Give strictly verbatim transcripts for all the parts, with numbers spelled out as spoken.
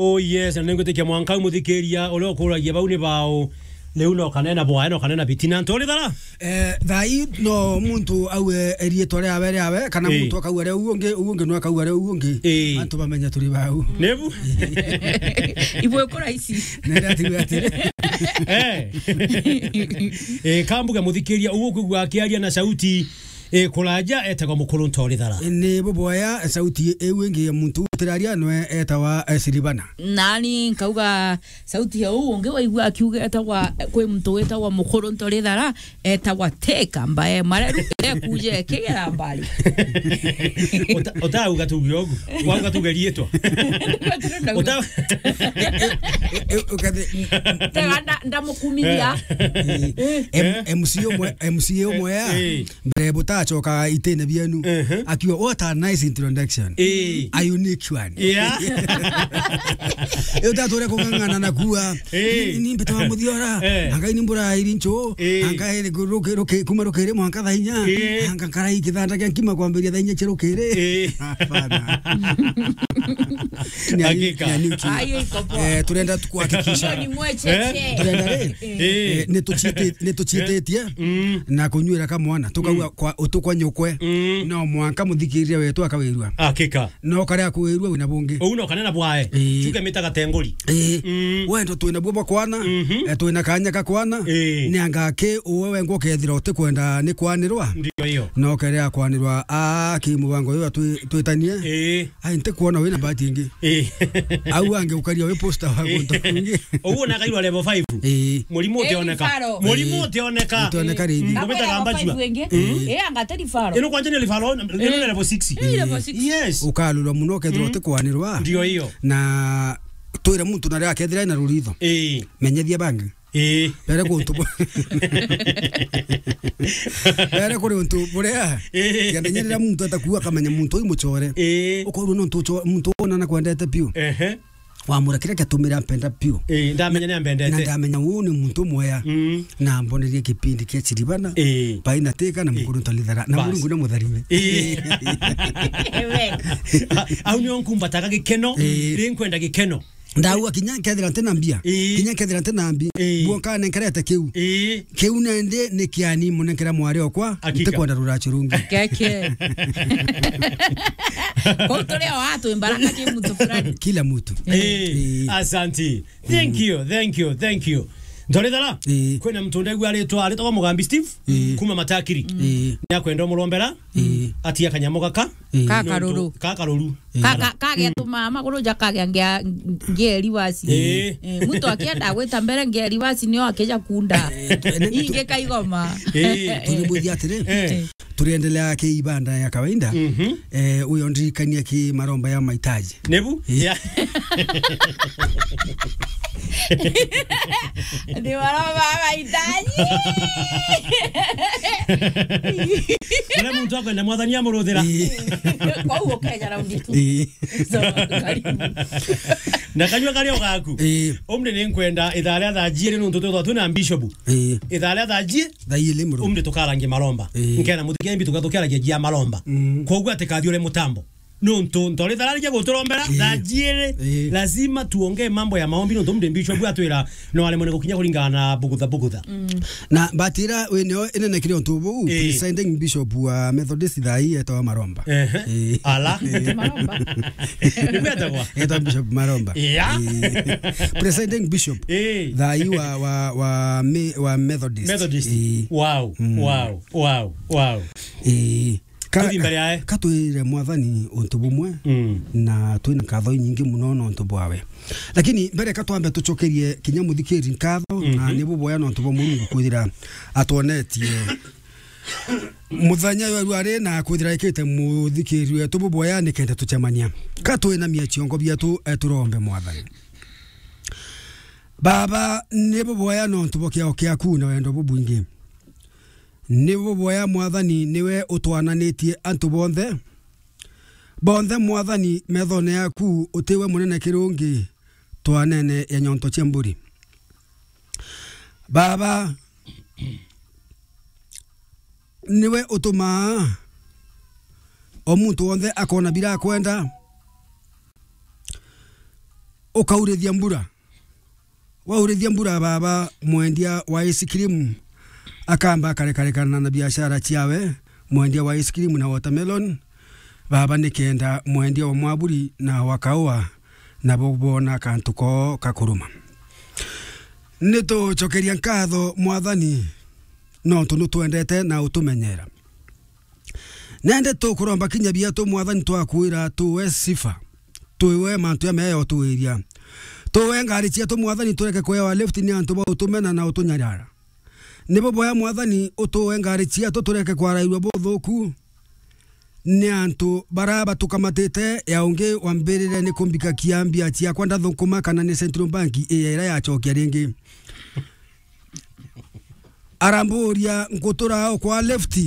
Oh yes, na ningwitikia mwanka u muthikiria uria ukuragia bau ni bao. Riu no kanena bwae, no kanena bitina. Ntori thara? Eh, thaa ii no muntu auge riitwa riawe riawe, kana Ii. muntu akauga ria uu ungi, uu ungi no akauga ria uu ungi. Ii. Antu bamenya turi bau. Nebu? Ibwe kura ici. Nenda tigwe atiri. Eh. Eh, kambuge muthikiria, uu ukwigua akiaria na sauti, eh, kuraja, etagwa Mukuru Ntori Thara. Ni buboya sauti iu ingi ya muntu utiraria nwe etawa, eh, Silvana. Nani nkauga sauti ya uu ungi waigua akiuga etagwa, kwi muntu witagwa Mukuru Ntori Thara, etagwa Teka Mbae Mareru, ekuje kigera mbari. Uta-, utauga tuge ugu. Wauga tuge riitwa. Uta- Eh, eh, ukathi- Tega nda-, ndamukumithia. Eh, M-, M C umwe, M C A umwe ya, Eh. mbere butacoka itine bienu. Ehe. Akiuga, "What a nice introduction." Eh. A unique one. Yeah. Eh, utature kung'ang'ana na kuwa. Eh. Ni, ni mbete wa muthiora. Eh. Anga ni mbura iri ncho. Eh. Anga iri ruki, ruki, kuma rukiri mwanka thaa inya. Eh. Anga karai kithanda kia nkima kwambiria thaa inya cia rukiri. Eh. Hapana. Ni a-, Hakika. ni a new team. Ayo iko poa. Eh, turenda tu kuhakikisha. Hiyo ni mwecheche. Eh? Turenda ri? Eh. Eh, ni tuciite-, ni tuciitetie Mm. na kunyuira kamwana. Tukauga Mm. kwa utukwa nyukwe. Mm. No mwanka muthikiriria wetu akawirua. Hakika. No karia kuwirua wina bungi. Uu no kanena bwae. Eh. Chuke mita gatenguri. Eh. Mm. Wendo twina buo bwa kwana. Mhm. Eh, twina kanya ka kwana. Eh. Ni anga ki uwe wengwa ukethira utikwenda ni kwanirwa? Ndio hiyo. No kerea kwanirwa a ki mubango uyu atwi-, twitanie. Eh. Ai, ntikwona wina bahati ingi. Eh. Au ange ukaria wi poster wa Eh. guntu kungi. Uguo na kairwa level five. Eh. Murimu Eh, utioneka. Rifaro. Murimu Eh. utioneka. Utioneka ringi. Mm, Akwira gumita gamba level five jua. Ingi. Mm. Eh, anga ti rifaro. Ino kwanja ni rifaro, ino Eh. level six. Eh, level six. Yes. Ukalulwa muno kethirwa Mm. utikwanirwa. Ndio hiyo. Na twire muntu na ria kethira ena ruritho. Eh. Menyethia bangi. Ii. Bere kuntu bu-, bere kuri untu buria, Ii. kenda nyerera muntu atakuwa akamenya muntu uyu mucore. Ii. Ukorwo nontu uco-, muntu wona na kwendete piu. Ehe. Wamura kiria kiatumire ampenda piu. Ii, ndamenya ni ambendete. Na ndamenya uu ni muntu mwea. Mm. Na ambonerie kipindi kia Chiribana. Ii. Bai na Teka na Ii. Mukuru Ntori Thara. Na Bas. Murungu na mutharime. Ii. Amen. A-, au nio nkumbataga gikeno. Ii. Ri nkwenda gikeno. Ndaua kinya nkethira ntina mbia. Ii. Kinya nkethira ntina mbi. Ii. Buo nkanenkerete kiu. Ii. Kiu nandi ni kiani munenkera mwari okwa, Hakika. Ntikwenda ruracio rungi. Keke. Kuu turi o atwi mbaraka ki muntu fulani. Kila mtu. Ii. Ii. Asanti. Thank you, thank you, thank you. Ntori Thara, Ii. Kwina muntu ndegua aritwa, aritagwa Mugambi Steve, Ii. Kuma Matakiri. Ii. Ni akwenda umurombera, Ii. Atia kanyamo gaka. Ii. Ka karuru. Ka karuru. Ka, ka, kagetuma maguru ja kagea ngia, ngia rivasi. Ii. Eh, muntu akienda gwita mbere ngia rivasi nio akija kunda. Eh, tu-, ene-, tu-, Ingi kaigoma. Ii. Tuributhia atiri, Eh. turiendelea ki ibada ya kawaida. Mhm. Eh, uyo ndirikania ki maromba ya mahitaji. Nebu? Ii. Ya. Ni maromba ya mahitaji. Uria muntu akwenda mwathani amuruthira. Ii. Kwou ukeja raundi tu. Ii. So, karibu. Na kanyua karia ugaku. Ii. Umri ni nkwenda ithaa ria thaa jiiri nuntu twithwa twina bishop. Ii. Ithaa ria thaa jiiri. Thaa iri muru. Umri tukarangia maromba. Ii. Nkena muthike mbi tuka-, tukaragia jia maromba. Mm. Kwoguo atikathiure mutambo. Nontu Ntori Thara arikia guturombera, Ii. Thaa jiiri, Ii. Lazima tuongee mambo ya maombi, nontu mde bishop atwira no aremwe ni gukinya kuringana na bugutha bugutha. Mm. Na batira winio inene kiri untu buu, Ii. Presiding Bishop wa Methodist thaa ii etawa Maromba. Ehe. Ii. Ala. Ii. Maromba. Ni kwetagwa? Etawa Bishop Maromba. Yeah. Ii. Presiding Bishop Ii. Thaa ii wa, wa, wa, me-, wa Methodist. Methodist. Ii. Wow, Mm. wow, wow, wow. Ii. Ka-, Tuthi mbere yae. Katwire Mwathani untu bumwe, Mm. na twina nkatho inyingi muno nontu bwawe. Lakini mbere ka twambe tucokerie kinya muthikiri nkatho, Mhm. na ni buboya nontu bwa Murungu kwithira atwonetie muthenya uyu ari na kwithira ikite muthikiri wetu buboya nikenda tucemania. Ka twinamie ciongo bietu, eh, turombe Mwathani. Baba, ni buboya nontu bwa kiao kiaku na wendo bubwingi. Ni buboya Mwathani niwe utwananitie antu bonthe. Bonthe Mwathani methone yaku utiwe munene kirungi twanene ya nyonto cia mburi. Baba, niwe utumaa o muntu wonthe akona bira akwenda. ukaurithia mbura. Waurithia mbura, baba, mwendia wa ice cream akamba akarekarekana na biashara ciawe, mwendia wa ice cream na watermelon, baba, nikenda mwendia wa mwaburi na wa kaua nabo bona kantu koo kakuruma. Nitucokeria nkatho, Mwathani, nontu nutwendete na utumenyera. Nende tukuromba kinya biatu, Mwathani, twakwira tuwe sifa, tuwe mantu ya mea yotuiria. Tuwe ngari ciatu, Mwathani, tureke kwewa lift ni antu ba utumena na utunyarara. Nibo boya, Mwathani, utuwe ngari ciatu tureke kwarairwa buthuku ni antu bara batukamatite. Ya ungi wambirire ni kumbika kiambia ciakwa ndathukuma kana ni Central Bank iya ira yacokia ringi. Aramburia, nkutura o kwa left?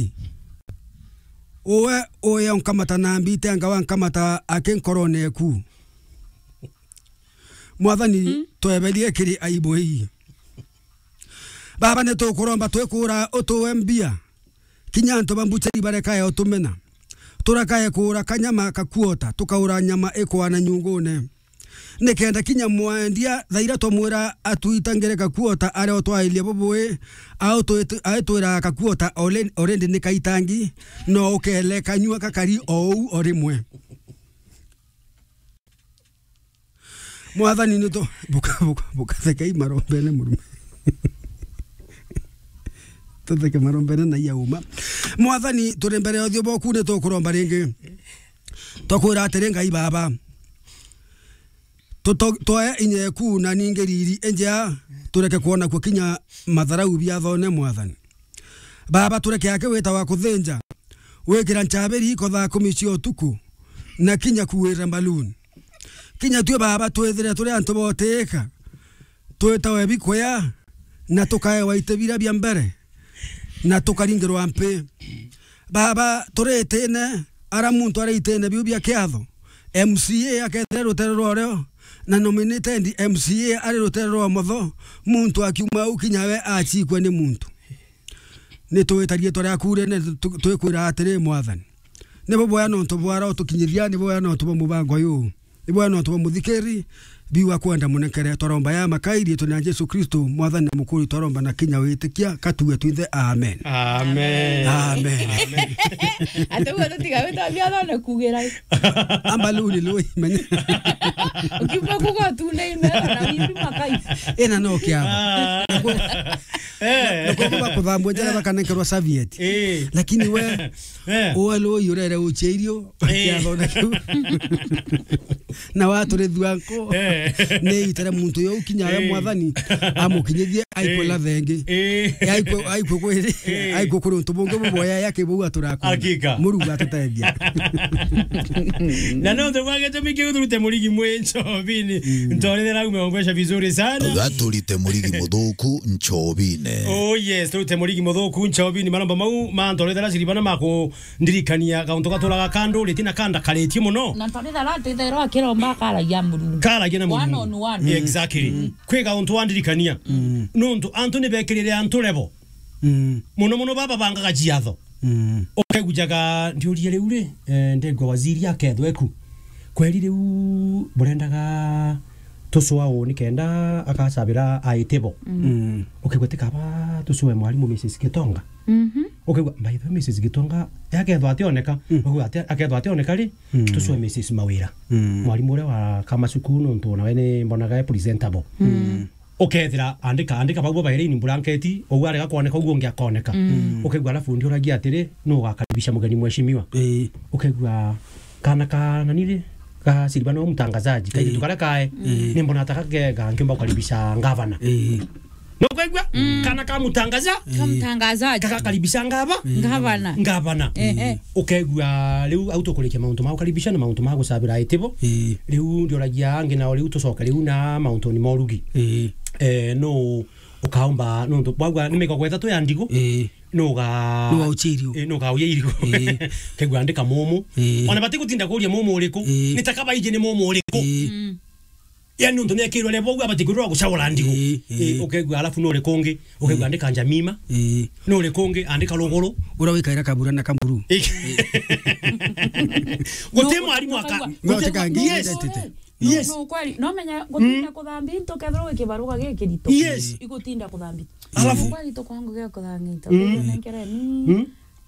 Uwe uya unkamata na mbite anga wankamata aki nkorone eku? Mwathani, tweberie kiri aibu ii. Baba, nitukuromba twikura utuwe mbia. Kinya antu ba mbucheri barekae utumena. Turakae kuura kanyama kakuota, tukaura nyama ikwana nyungune. Nikenda kinya mwendia thaira twamwira atwitangire kakuota aria utwairie bubui, aitwira kakuota alre-, already ni kaitangi, no ukele kanyua kakari o uu o rimwe. Mwathani, ni tu-, buka-, buka-, bukathekei marombene murume. Tutheke marombene na iya uma. Mwathani, turi mbere ya uthio bwaku, ni tukuromba ringi. Twakwira atiri, Ngai Baba, tuto-, twoe inya eku na ningi riri injea, tureke kwona kwo kinya matharau biathone, Mwathani. Baba, tureke aki wita wa kuthinja, wikira nchabiri iko thaa kumi cia utuku, na kinya kuwira mbaluni. Kinya tue, Baba, twithire turi antu botiika, twitawe bikuya, na tukaewa iti bira bia mbere, na tukaringirwa mpi. Baba, turitine, ara muntu ari itine biu bia kiatho, M C A akethire rutere rwa urio, na nominated M C A ari rutere rwa umotho, muntu akiuma au kinya we achikwe ni muntu. Ni twita riitwa riaku rinene, tu-, twikwira atiri, Mwathani, ni buboya nontu bwa roho tukinyiria, ni buboya nontu bwa mubango uyu, ni buboya nontu bwa muthikiri, biu akwenda munekere. Twaromba ya makai riitwa ria Jesu Kristo, Mwathani na Mukuri, twaromba na kinya witikia, katuwe twithe. Amen. Amen. Amen. Ati uguo tutiga wita biathone kugira. Ambaluni lui, menya. Ukiuma kuga tu ni ime, na wimbi makai. Ina no kiao. Ah. Eh. Nikuo bakuthambua njara, eh, bakanenkerwa serviette. Eh. Lakini we, eh, uwe lui urere uche irio, eh, kiathone kiu. Na waturithua nko. Eh. Ni itire muntu yo kinya we, eh, Mwathani, amukinyithie aikwe, eh, lathengi. Eh. Aikwe, aikwe kwiri, eh, aikwe kuri untu bungi buboya yake bau aturaku. Hakika. Muruga atutethia. Na no ndio kwa gitumi kiu turute murigi mwi nchobini. Mm. Ntorethera umeongwesha vizuri sana. Gaturite murigi muthuku nchobine. Oh yes, turute murigi muthuku nchobini. Maromba mau mantorethera ciribana mako ndirikania kauntu gaturaga kanduriti na kandakaritie muno. Na ntorethera atitherwa akiromba akaragia Murungu. Karagia na Murungu. One on one. Mm. Exactly. Mm. Kwi kauntu wandirikania. Mm. Nontu antu ni bekirire antu level. Mm. Muno muno baba bangaga ciatho. Mm. Ukegujaga ndiurie riu ri, eh, ndengwa waziri akethwe ku. Kweri riu burendaga tucwa uu nikenda akacabira aitibo. Mm. Ukegua tikaba tucwe mwarimu Missus Gitonga. Mhm. Ukegua, by the way, Missus Gitonga, akethwa ationeka, mm, ukegua ati-, akethwa ationeka ri, mm, tucwe Missus Mawira. Mm. Mwarimu uria wa Kama Cukuru, nontu nawe ni mbonaga e presentable. Mm. Ukethira andika, andika bau babaire in blanket, ou arega kwoneka, ou ungi akoneka. Mm. Ukaigua alafu ndiuragia atiri, nu ugakaribisha mugeni mheshimiwa? Ii. Ukaigua kana ka nani ri, ka Silvano mtangazaji, kairitu, ii, karia kae, ii, ni mbona ataka kega nkiumba kukaribisha ngavana. Ii. No ukaigua? Mm. Kana ka mtangaza? Ka mtangazaji. Kagakaribisha ngava? Ngavana. Ngavana. Eh, eh. Ukaigua riu au tukurikia mauntu ma gukaribisha na mauntu ma gucabira aitibo. Ii. Riu ndioragia angi nao riu tucoke riu na mauntuni ma urugi. Ii. Eh, nu ukaumba, nontu bwagua ni migogo ithatu ya ndigu. Ii. Nu uga-, nu uga uchirio. Ii, nu uga uya irigu. Ii. Kegua andika mumu. Ii. Ona bati gutinda kuria mumu uriku. Ii. Ni taka baiji ni mumu uriku. Ii. Mm. Yani, nontu niekirwe level, ugu abati kwirwa gucagura ndigu. Ii, ii. Ii, ukaigua, alafu nuri kungi, ukaigua, ii, andika Njamima. Ii. Nuri kungi, andika Ruguru. Uria wikaira kabura na kamuru. Ii. Guti mwarimu aka-, no, guti, teka ngi-, yes, identity. Yes. No, no, kweli. No menya gutinda kuthambia into kethirwa wi kibaruga gikirito. Yes. Igutinda kuthambia. Alafu kweli to kwangu gya kuthambia into. Mm. Nenkereni. Mm.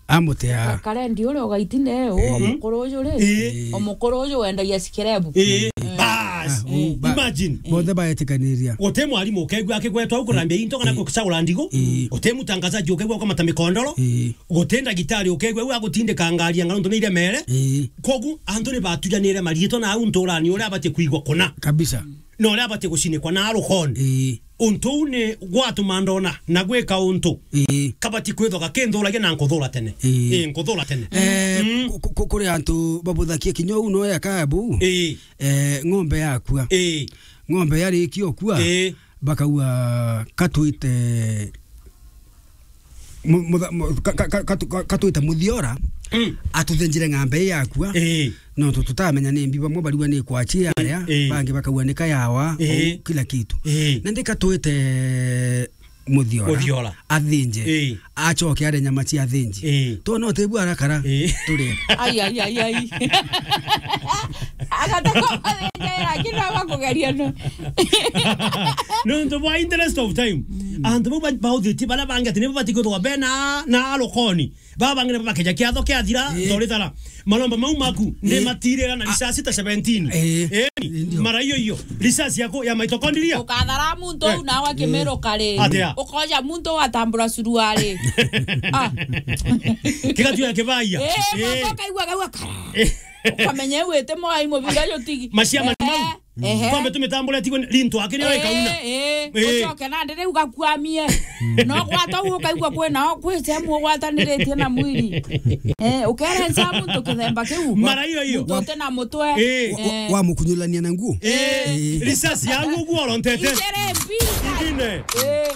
Amutea. Karendi uria ugaitinde, eh, omukuru uju ri. Eh. Omukuru uju wendagia sikerebu. Eh. Bas. Ah, u-, ba-, imagine. Bonthe baetikaniria. Guti mwarimu ukegua akigwetwa au kurambia into kana kucagura ndigo. Eh. Guti mutangazaji ukegua ukamata mikondoro. Eh. Guti ndagitari ukegua au agutindika ngari ya ngaruntu ni iria mere. Eh. Kogu antu ni batujanire mariitwa na au nturani uria abatie kuigwa kuna. Kabisa. Na uria abatie gucinikwa na rukoni. Eh. Untu uu ni gwatuma ndona na gwika untu. Ii. Kabati kwithwa gakinthuragia na nkuthura tene. Ii. Ii, nkuthura tene. Eh, mm, ku-, ku-, ku-, kuri antu babuthakia kinya uu no yaka buu. Ii. Eh, ng'ombe yakua. Ii. Ng'ombe yarikia ukua, ii, bakauga katwite mu-, mutha-, mu-, ka-, ka-, ka-, katu-, ka-, katwite muthiora, mm, atuthenjire ng'ombe ii yakua. Ii. Nontu tutamenya ni mbi, bamwe barigwa ni kwachi yaria, ii, bangi bakauga ni kayawa, ii, uu kila kitu. Ii. Na ndika twite muthiora, muthiora, athinje, ii, acoke arie nyama cia athinji. Ii. Twona utibua arakara, ii, turie. Ai, ai, ai, ai. Agatakuwa athinje, lakini aba kugeria no. Nontu bwa interest of time. Mm. Antu bau ba-, bauthitie baria bangi ati nibo batikwithwa bena na rukoni. Baba bang'ina bakeja kiatho kiathira, ii, ntorithara. Malomba mau maku, ii, ni matirira na risasi ta seventeen. Ii. Ii, ndio. Mara iyo iyo, risasi yako ya mitochondria. Ukathara muntu, eh, uu nawe, eh, akimirukari. Atia? Ukoja muntu watambura suruari. Ah. Kigatuya kibaia. Eh, eh, mwanka ukaigua gau akara. Eh. Ukamenya wite mwai mubira yo tigi. Maciama ni mau. Eh. Ehe. Twambe tumitambure tigwe rintu akiri, eh, ikauna. Eh, eh. Ucoke nandi riu gakuamie. No gwata u ukaigua kwina, kwi sehemu ugwataniritie na mwili. Eh, ukere nsa muntu kithemba kiu. Mara iyo iyo. Muntu uti na mutwe. Eh. Wa-, wa-, eh, wamukunyulania na nguo. Eh. Eh. Risasi ya nguo urontete. Ichere mbi. Ingine. Eh.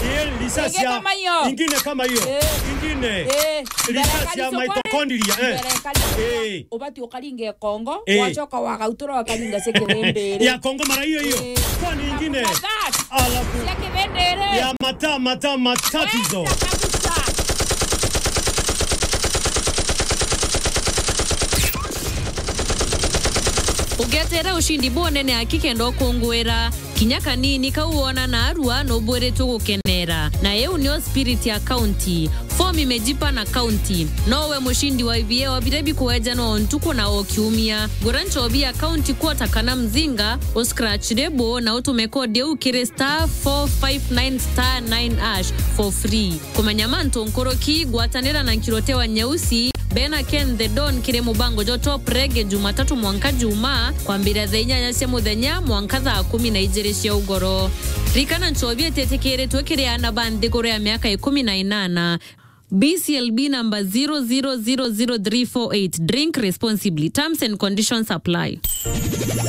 Eh, risasi ya, ingine kama iyo. Ingine kama iyo. Eh. Ingine. Eh. Risasi ya mitochondria, eh. Eh. Ubati ukaringe kongo, eh, wacoka wagautura wakaringa cia kithindiri. Ya kongo mara iyo iyo. Eh. Kwani ingine? Alafu cia kithindiri. Ya mata, mata, matatizo. Wenda kabisa. Ugetere ushindi bunene aki kenda ukungwira. Kinya kanini kau wona naarua nubwiritwe gukenera. Na iu nio spirit ya county. Form imejipa na county. No we mushindi wa I V A wa biria bikuejanwa o ntuku na o kiumia. Gura nchobi ya county quarter kana mzinga, u scratch lebo na utume code iu kiri star four five nine star nine hash for free. Kumenya mantu nkuruki, gwatanira na Nkirote wa Nyeusi, bena Ken the Don kiri mubango jwa Top Reggae Jumatatu mwanka Jumaa, kwambiria thaa inyanya cia muthenya mwanka thaa kumi na ijiri cia ugoro. Rikana nchobi ititikiritwe kiri aana ba nthiguru ya miaka ikumi na inana. B C L B number zero zero zero zero three four eight. Drink responsibly. Terms and conditions apply.